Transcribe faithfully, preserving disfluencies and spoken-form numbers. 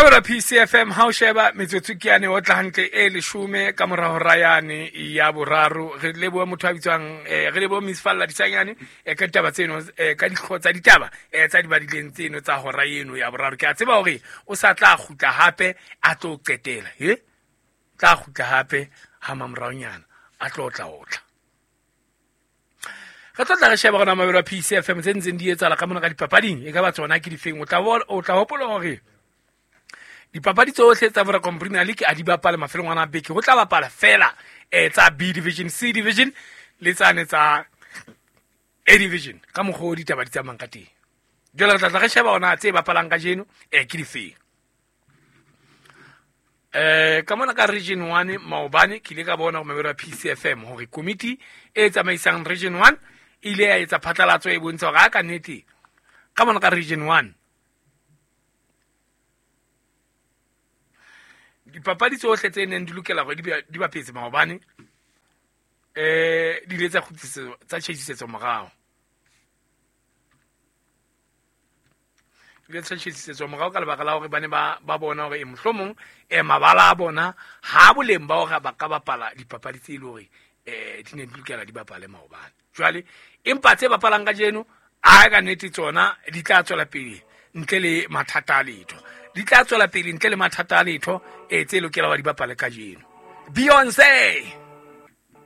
Mabelo P C F M ha o sheba metsotso ke yane o tla hantle e leshome ka mora hora yane ya boraro. Re leboha motho a bitswang, eh, re leboha Miss Falla Disanyane, eh, ka ditaba tseno, eh, ka dihlooho tsa ditaba, eh, tsa di badileng tseno tsa hora eno ya boraro. Ke a tseba hore o sa tla kgutla hape a tlo qetela, he? Tla kgutla hape ha mamoraonyana a tlo tla otla. Re tlo tla re sheba rona mabelo a P C F M tse ntseng di etsahala ka mona ka dipapading, e ka ba tsona ke difeng. O tla bo-, o tla hopola hore dipapadi tsohle tsa Vodacom Premier League a di bapale mafelong ana a beke. Ho tla bapala fela, eh, tsa B Division, C Division le tsane tsa A Division ka mokgwa o ditaba di tsamayang ka teng. Jwale re tla tla re sheba hona tse bapalang kajeno, eh, ke difeng. Eh, ka mona ka Region one maobane ke ile ka bona ho mabelo a P C F M hore komiti e tsamaisang Region one e ile ya etsa phatlalatso e bontsha hore ha ka nnete ka mona ka Region one dipapadi tsohle tse neng di lokela hore di be, di bapetse maobane, eh, di ile tsa kgutlisetswa, tsa tjhetjhisetswa morao. Di ile tsa tjhetjhisetswa morao ka lebaka la hore ba ne ba, ba bona hore, eh, mohlomong, eh, mabala a bona ha boleng ba hore ba ka bapala dipapadi tse e leng hore, eh, di ne di lokela di bapale maobane. Jwale, empa tse bapalang kajeno, a ka nnete tsona di tla tswela pele ntle le mathata a letho. Di tla tswela pele ntle le mathata a letho, eh, tse lokelang hore di bapale kajeno. Beyonce!